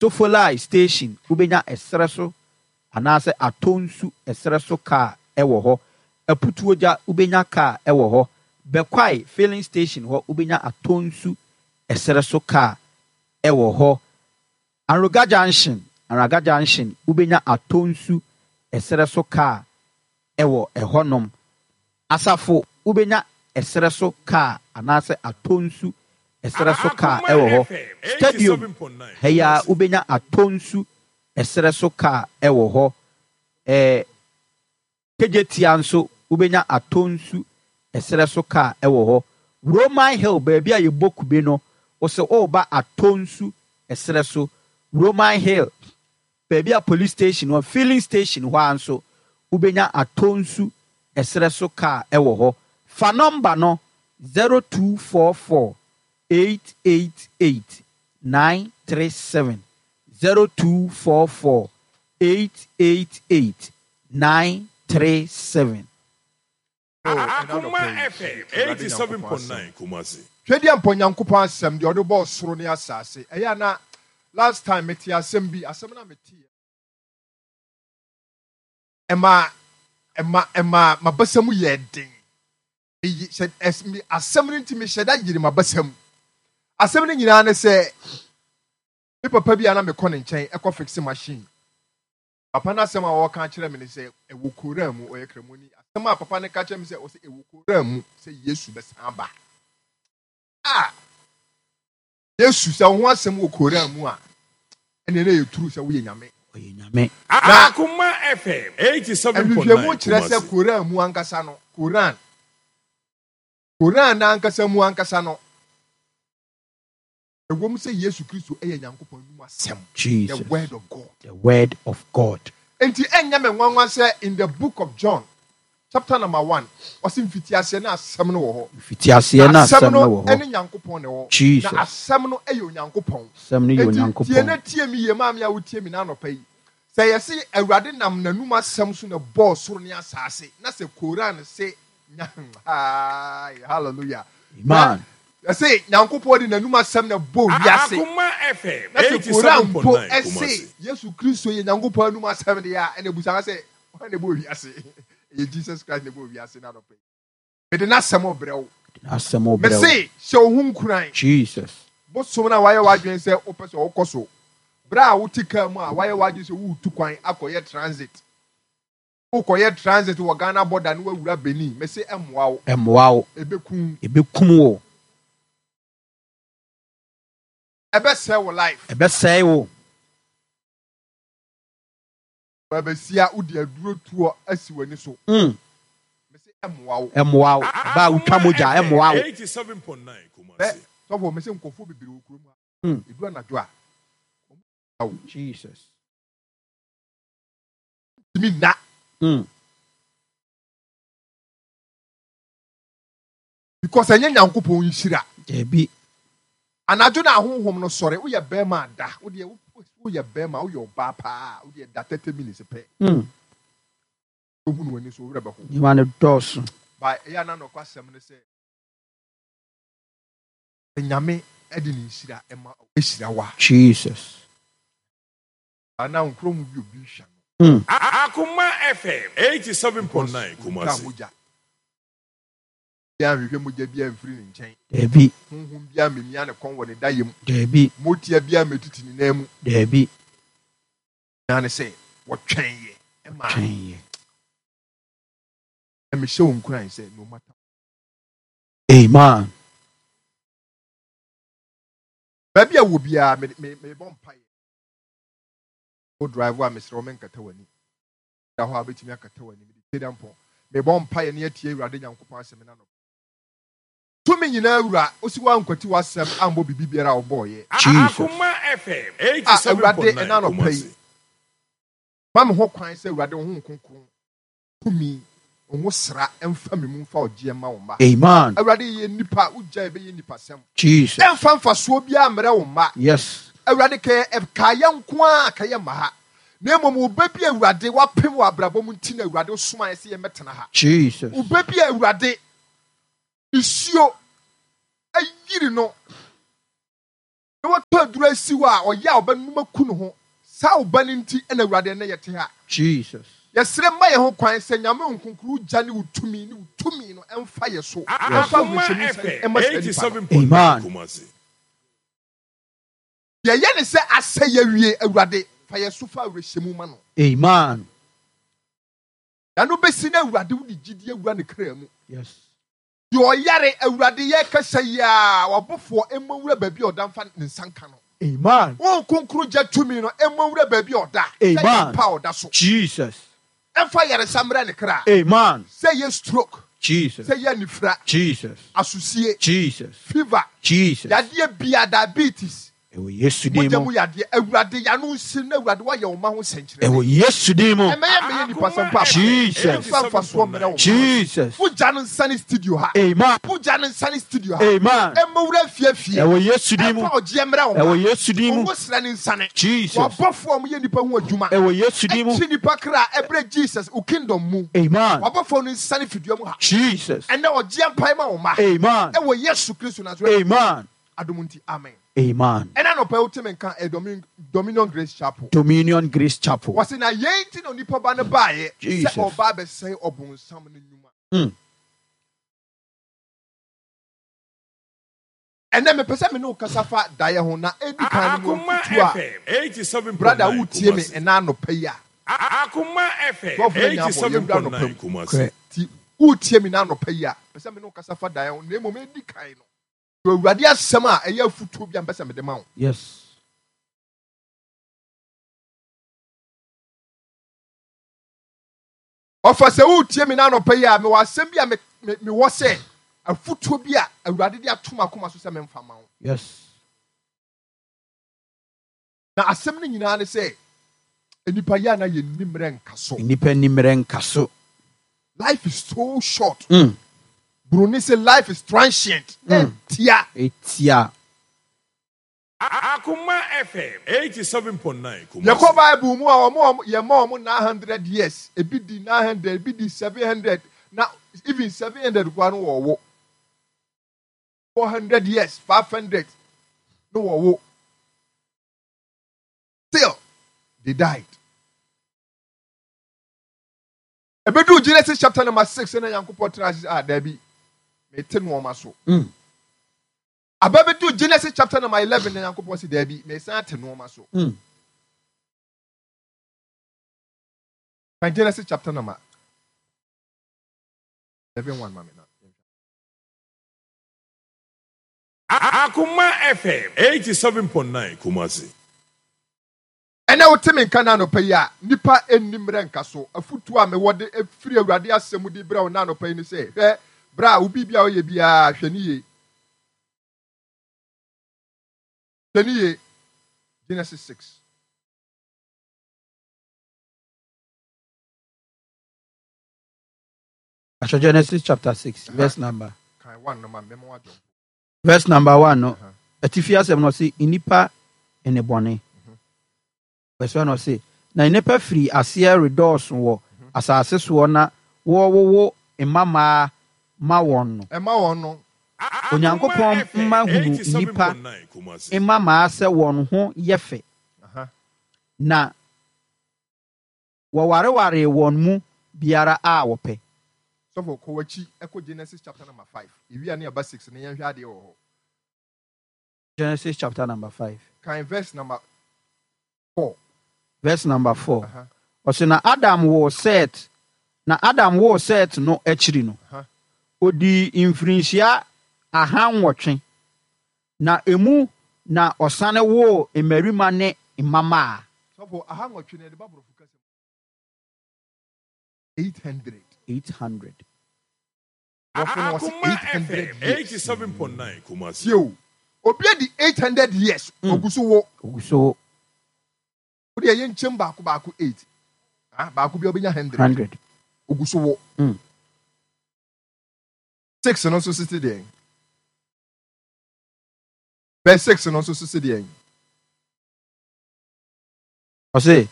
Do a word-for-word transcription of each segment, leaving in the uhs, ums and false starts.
Sofoline station, wobɛnya ɛserɛ so anaasɛ Atonsu ɛserɛ so kaa ɛwɔ hɔ. Aputuogya, wobɛnya kaa ɛwɔ hɔ. Bɛkwae filling station hɔ, wobɛnya Atonsu ɛserɛ so kaa ɛwɔ hɔ. Anloga Junction, Anloga Junction, wobɛnya Atonsu ɛserɛ so kaa ɛwɔ ɛhɔnom. Asafo, wobɛnya ɛserɛ so kaa anaasɛ Atonsu ɛserɛ so kaa ɛwɔ hɔ. Stadium ha, wobɛnya Atonsu ɛserɛ so kaa ɛwɔ hɔ. Ɛɛ Kejetia nso, wobɛnya Atonsu ɛserɛ so kaa ɛwɔ hɔ. Roman Hill, baabi a yɛbɔ kube no, wɔsɛ ɔreba Atonsu ɛserɛ so, Roman Hill, baabi a police station hɔ, filling station hɔ a nso, wobɛnya Atonsu ɛserɛ so kaa ɛwɔ hɔ. Fa nɔmba no zero two four four eight eight eight nine three seven, zero two four four eight eight eight nine three seven. Akoma F M eighty-seven point nine Kumasi. Twɛdeɛ mpɔ Nyankopɔn asɛm deɛ ɔde bɔɔ soro ne asase. Ɛyɛ ana last time mete asɛm bi, asɛm na mete ɛma ɛma ɛma mabasa mu yɛ den. Eyi hyɛ ɛs mi asɛm no nti mehyɛ da yiri mabasa mu. Asɛm no nyinaa ne sɛ me papa bi a na mekɔ ne nkyɛn ɛkɔ fix machine. Papa no asɛm a wɔka kyerɛ me ne sɛ ɛwɔ Koran mu. Ɔyɛ Kramoni. Asɛm a papa no ka kyerɛ me sɛ ɔsɛ ɛwɔ Koran mu sɛ Yesu bɛsan ba. A Yesu sɛ wo ho asɛm wɔ Koran mu a, ɛne ne yɛ turu sɛ woyɛ Nyame. Ɔyɛ Nyame. Na Akoma F M eighty-seven point nine nhwehwɛmu kyerɛ sɛ Kumasi. Koran mu ankasa no, Koran Koran n'ankasa mu ankasa no, ɛwɔ mu sɛ Yesu Kristo ɛyɛ Nyankopɔn anum asɛm, the Jesus. word of God. The word of God. Nti ɛnyɛ me nwanwa sɛ in the Book of John chapter number one, ɔsi mfitiaseɛ na asɛm no wɔ hɔ. Mfitiaseɛ na asɛm no wɔ hɔ. Ɛne Nyankopɔn na ɛwɔ. Jesus. Na asɛm no ɛyɛ Onyankopɔn. Asɛm no yɛ Enti tie na Onyankopɔn. tie mi yie, maame a wotie mi n'anɔpa yi, sɛ yɛsi Awurade nam n'anum asɛm so na bɔɔ soro ne asase, na sɛ Koran se nya, hallelujah. Amen. Yɛsɛ Nyankopɔn de n'anum asɛm na bɔɔ wiase Akoma F M na sɛ Koran mpo eighty-seven point nine ɛse Kumasi. Yesu Kristo yɛ Nyankopɔn anum asɛm deɛ a, ɛna ebusa sɛ wɔn na ɛbɔɔ wiase? Ɛyɛ Jesus Christ na ɛbɔɔ wiase. N'anɔpa yi mede n'asɛm ɔbrɛ wo. Asɛm ɔbrɛ wo. Mese hyɛ wo ho nkuran. Jesus. Bosom no a wayɛ w'adwene sɛ wopɛ sɛ wokɔ so, berɛ a wote kaa mu a wayɛ w'adwene sɛ woretu kwan akɔyɛ transit, wokɔyɛ transit wɔ Ghana border ne woawura Benin, mese ɛmmoa wo. Ɛmmoa wo. Ɛbɛkum. Ɛbɛkum wo. Ɛbɛsɛe wo life. Ɛbɛsɛe wo. Baabasia wode aduro toɔ asi w'ani so, Mm. mese ɛmmoa wo. Ɛmmoa wo. Ɛbaa wotwa mogya, ɛmmoa wo. eighty-seven point nine Ɛ Kumasi. sɔfo, mese nkɔfoɔ bebree wɔ kurom ha, Mm. ɛdu anadwo a ɔmo Jesus. ntumi nna. Mm. Because ɛnyɛ Nyankopɔn nhyira. Dabi. Anadwo na ahonhom no sɔre. Woyɛ bɛrima ada, wodeɛ woyɛ bɛrima, woyɛ ɔbaa paa, wodeɛ da thirty minutes pɛ, Mm. wohu no w'ani so, wo werɛ bɛho. Nneɛma no dɔɔso. Ba ɛyɛ ana nɔkɔ asɛm no sɛ Nyame ɛde ne nhyira ɛma ɛhyira wa Jesus. ana nkuro mu bi obi hwɛ no. Mm. Akoma F M eighty-seven point nine Ɔtwa Kumasi. Mogya bia nhwehwɛ, mogya bia mfiri ne nkyɛn. Dabi. Honhom bia mmemia ne kɔn wɔ ne dayɛ mu. Dabi. Motia bia mmetiti ne nan mu. Dabi. Na ne sɛ wɔtwɛn yɛ ɛma Twɛn yɛ. Ɛmehyɛ wo nkuran sɛ no matter. Amen. Baabi a wɔ biara, me me mebɔ mpaeɛ. Wo drive a, mesrɛ wo, menkata w'ani da hɔ a wobɛtumi akata w'ani. Mede tie da mpɔn mebɔ mpaeɛ ne atie Awurade Nyankopɔn asɛm no anɔpa. Tumi nyinaa wura, wosi woankwati w'asɛm ambɔ biribi biara a wobɔɔyɛ. Jesus. Akoma F M A Awurade, eighty-seven point nine ɛna anɔpa yi Kumasi. ma me ho kwan sɛ Awurade wo ho Kronkron tumi wo ho sra ɛmfa me mu mfa ɔgyeɛ ma wo mma. Amen. Awurade, yɛ nipa wogya yɛbɛyɛ nipa sɛm. Jesus. Ɛmfa mfasoɔ biara mmerɛ wo mma. Yes. Awurade, kɛyɛ ɛkaayɛ nko a kɛyɛ ma ha, na mmom wo ba bi a Awurade wapem wɔ abrabɔ mu nti na Awurade wosoma yɛ sɛ yɛmmɛtena ha. Jesus. Wo ba bi a Awurade nsuo ayiri no. Na watɔ aduro asi hɔ a ɔyɛ a ɔbɛnum aku ne ho. Saa ɔba no nti ɛna Awurade ɛnɛ yɛte ha. Jesus. Yɛsrɛ ma yɛn ho kwan sɛ Nyame nkonkoro gya ne wo tumi ne wo tumi no ɛmfa yɛ so. Ɛmfa Akuma awerɛhyɛmu F M nsa ɛma saa nipa no. eighty-seven point nine Amen. Kumasi. Yɛyɛ ne sɛ asɛ yɛwie Awurade fa yɛ so fa awerɛhyɛmu ma no. Amen. Na no bɛsi na Awurade wo de gyidie awura ne kra mu. Yes. Deɛ ɔyare Awurade yɛ kasa yi a wabɔfoɔ ɛmmɔ nwura baabi a ɔda mfa ne nsa nka no. Amen. Wɔn nkonkoro gya tumi no ɛmmɔ nwura baabi a ɔda. Sɛ Amen. yɛ mpa a ɔda so. Jesus. Ɛmfa yaresa mmerɛ ne kra. Amen. Sɛ yɛ stroke. Jesus. Sɛ yɛ nifra. Jesus. Asusie. Jesus. Fever. Jesus. Yadeɛ bia diabetes. Ɛwɔ Yesu din Mogya mu. mu yadeɛ Awurade yano nsi na Awurade wayɛ wo ma ho nsɛnkyerɛnne. Ɛwɔ Yesu din mu. Ɛmɛyɛ mɛyɛ nipa sɛm pa. Jesus. Ɛmfa mfasoɔ mmerɛ wo ma. Jesus. Wogya no nsa ne studio ha. Amen. Wogya no nsa ne studio ha. Amen. Ɛmmɔ wura fie fie. Ɛwɔ Yesu din mu. Ɛmfa ɔgyeɛ mmerɛ wo ma. Ɛwɔ Yesu din mu. Ɔmo srɛ ne nsane. Jesus. Wabɔfoɔ a wɔyɛ nipa ho adwuma. Ɛwɔ Yesu din mu. Ɛkyi nipa kra ɛbrɛ Jesus wo kingdom mu. Amen. Wabɔfoɔ no nsane fidua mu ha. Jesus. Ɛnɛ ɔgyeɛ mpae ma wo ma. Amen. Ɛwɔ Yesu Kristo Nasaret. Amen. Adom nti amen. Amen. Ɛna nɔpɛ wote me nka ɛ Domin- Dominion Grace Chapel. Dominion Grace Chapel. Wɔse na yɛn nti na onipa ba no baeɛ sɛ Jesus. ɔba abɛsɛe ɔbonsam no nnwuma. Mm. Ɛnɛ mepɛ sɛ me ne wo kasa fa daeɛ ho na ɛdi kan no mu Akuma afutuo a F M eighty-seven point brother nine wotie me Kumasi. ɛna anɔpa yi a. Akuma F M Twelve na nya abɔ, eighty-seven yɛwura point anɔpa nine mu. Kumasi. Correct. Nti wotie me na anɔpa yi a, pɛ sɛ me ne wo kasa fa daeɛ ho na mmom ɛdi kan no. Awurade asɛm a ɛyɛ afutuo bi a mpɛ sɛ mede ma wo. Yes. Ɔfa sɛ wotie me na anɔpa yi a, mewɔ asɛm bi a me, me, mewɔ sɛ afutuo bi a Awurade de ato m'akoma so sɛ memfa ma wo. Yes. Na asɛm no nyinaa ne sɛ, nnipa yi a na yɛnni mmerɛ nka so. Nnipa nni mmerɛ nka so. Life is so short. Mm. Bruni say life is transient. Mm. Etia. Etia. Akuma F M eighty-seven point nine. Yɛkɔ Bible mu a wɔn a yɛ ma wɔn nine hundred years. Ebi di nine hundred, ebi di seven hundred. Na even seven hundred kura no wɔwɔ. four hundred years, five hundred no wɔwɔ. Still, they died. Ebedu Genesis chapter number six na Nyankopɔn tena ase ah Dabi mete no ɔma so. Mm. Ababedu Genesis chapter number eleven na Nyankopɔn si Dabi me san te no ɔma so. Mm. Kan Genesis chapter number eleven one mame na. Akuma F M eighty-seven point nine Kumasi. Ɛnɛ wote me nka na anɔpa yi a nipa enni mmerɛ nka so afutuo a mewɔ de efiri Awurade asɛm de brɛ wo na anɔpa yi ne sɛ hwɛ bra a obi bia ɔyɛ biara hwɛ ne yie. Hwɛ ne yie. Genesis six. Asha Genesis chapter six, Uh-huh. verse number. Kan one no ma memo adwo. Verse number one no. Uh-huh. Atifi asɛm no ɔse nnipa ne bɔne. Verse one ɔse na nnipa firi aseɛ redɔɔso wɔ asase soɔ na wɔwowo mmamaa ma wɔn no. Ɛma wɔn no. Onyankopɔn mma hunu nnipa mmamaa sɛ wɔn ho yɛ fɛ. Uh-huh. Na wɔwareware wɔn mu biara a wɔpɛ. Sɔfo, kɔ w'akyi, ɛkɔ Genesis chapter number five. Ewia ne ɛba six ne yɛnhwɛ adeɛ wɔ hɔ. Genesis chapter number five. Kan verse number four. Verse number four. Uh-huh. Ɔse na Adam woo Seth. Na Adam woo Seth no akyiri no. Uh-huh. Odi mfirinhyia ahanwɔtwe. Na emu na ɔsane woo mmarima ne mmammaa. Sɔfo, ahanwɔtwe na yɛde ba borɔfo kasa mu. eight hundred. eight hundred. Borɔfo no wɔse Akuma eight hundred F M years. eighty-seven point nine Kumasi. Tie o. Obi adi eight hundred years. Mm. Ogu so wo. Ogu so. Wo de yɛ nkyɛn baako baako eight. Ah, baako bi obenya hundred. hundred. Ogu so wo. Mm. Six no nso sisi deɛ. Verse six no nso sisi deɛ. Ɔse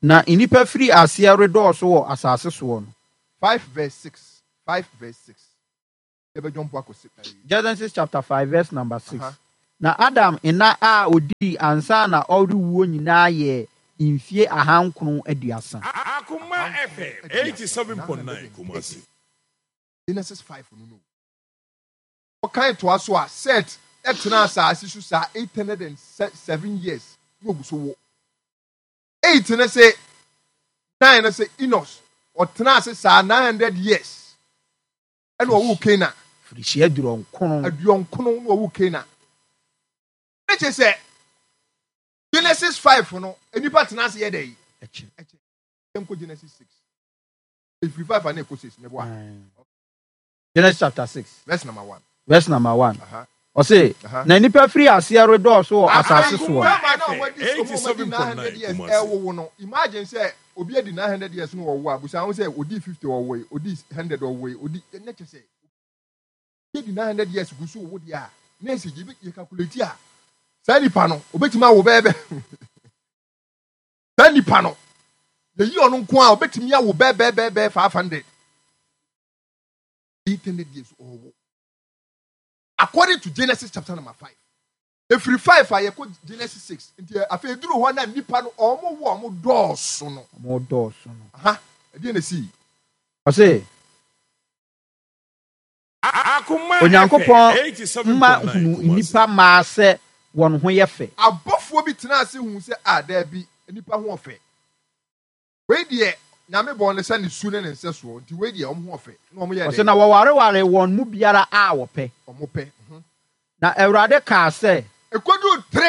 na nnipa firi aseɛ redɔɔso wɔ asase soɔ no. Five verse six. Five verse six. Yɛbɛdwɔn mpo akɔ six. Genesis chapter five verse number six. Uh-huh. Na Adam nna a odii ansa na ɔrewuo nyinaa yɛ mfie ahankron aduasa. Akuma F M eighty-seven point nine Kumasi. Genesis five no no ɔkan toa so a, Set ɛtena asase so saa eight hundred and seven years na ogu so wɔ eight ne sɛ nine ne sɛ Enos ɔtena ase saa nine hundred years ɛna ɔwɔ Canaan. Firihyia aduɔnkron. Aduɔnkono na ɔwɔ Canaan. Ne kyerɛ sɛ Genesis five no, nipa tena ase yɛ dɛ yi akyi. Nkɔ Genesis six, efiri five ana ekɔ six mɛboa. Genesis chapter six. Verse number one. Verse number one. Aha. Ɔse, Aha. na nipa firi aseɛ redɔɔso wɔ asase soɔ. eighty-seven point nine Kumasi. Ɛwowo no, imagine sɛ obi adi nine hundred years no wɔwo a, busa ho sɛ odi fifty ɔwo yi, odi hundred ɔwo yi, odi ne kyɛ sɛ obi adi nine hundred years gu so wo deɛ a, na esi gye yɛ calculate a, saa nipa no obetumi awo bɛɛ bɛ saa nipa no yɛyi ɔno nko a, obetumi awo bɛɛ bɛɛ bɛɛ bɛɛ five hundred, eight hundred years ɔwo according to Genesis chapter number five. Efiri five a yɛkɔ Genesis six, nti afei eduru hɔ na nipa no ɔmo wo ɔmo dɔɔso no. Ɔmo dɔɔso no. Aha ɛdeɛ na esi. Ɔse, Akuma Onyankopɔn F M mma eighty-seven point nine hunu Kumasi. nnipa mmaa sɛ wɔn ho yɛ fɛ. Abɔfoɔ bi tena ase hu sɛ a daabi, nipa ho ɔfɛ. Wei deɛ, Nyame bɔ ne sɛ ne su ne ne nsɛ soɔ, nti wei deɛ ɔmo ho ɔfɛ na ɔmo yɛ Ɔsɛ dɛ na wɔwareware wɔn mu biara a wɔpɛ. Ɔmo pɛ mhm. Na Awurade kaa sɛ, Ekodu three.